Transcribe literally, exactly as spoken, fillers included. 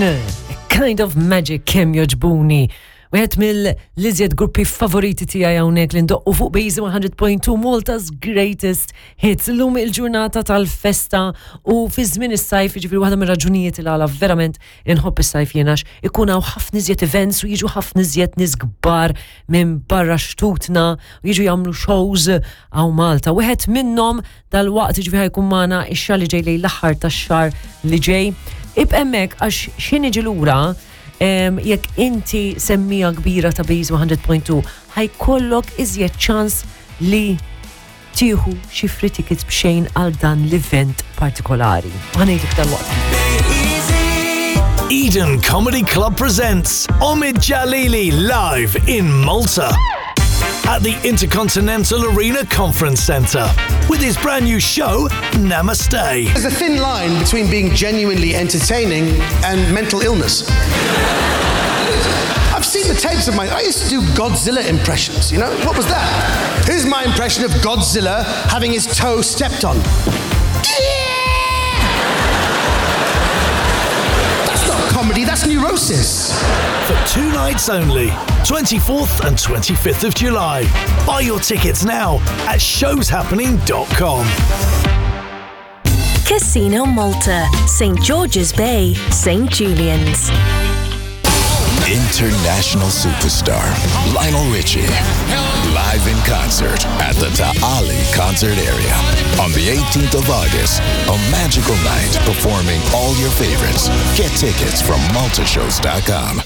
Queen, Kind of Magic kemm jogħġbuni. Wieħed mill-iżjed gruppi favoriti tiegħi hawnhekk li ndoqqu fuq Base one hundred point two, Malta's Greatest Hits. Illum il-ġurnata tal-festa u fi żmien is-sajf, jiġifieri waħda mir-raġunijiet il għala verament inħobb is-sajf jiena għax ikun hawn ħafna iżjed events u jiġu ħafna iżjed nies kbar minn barra xtutna u jiġu jagħmlu shows hawn Malta. Wieħed minnhom dal-waqt, jiġifieri ħa jkun magħna ix-xahar li ġej, lejn l-aħħar tax-xahar li ġej. Ibqa' hemmhekk għax x'ħin niġi lura em, jekk inti semmiegħa kbira ta' Base one hundred point two ħa jkollok iżjed ċans li tieħu xi free tickets b'xejn għal dan l-event partikolari. Ħa ngħidlek dal-waqt. Eden Comedy Club presents Omid Djalili live in Malta at the Intercontinental Arena Conference Centre with his brand new show, Namaste. There's a thin line between being genuinely entertaining and mental illness. I've seen the tapes of my. I used to do Godzilla impressions, you know? What was that? Here's my impression of Godzilla having his toe stepped on. That's not comedy, that's neurosis. For two nights only, twenty-fourth and twenty-fifth of July. Buy your tickets now at showshappening dot com. Casino Malta, Saint George's Bay, Saint Julian's. International superstar Lionel Richie live in concert at the Ta' Qali Concert Area on the eighteenth of August. A magical night performing all your favorites. Get tickets from maltashows dot com.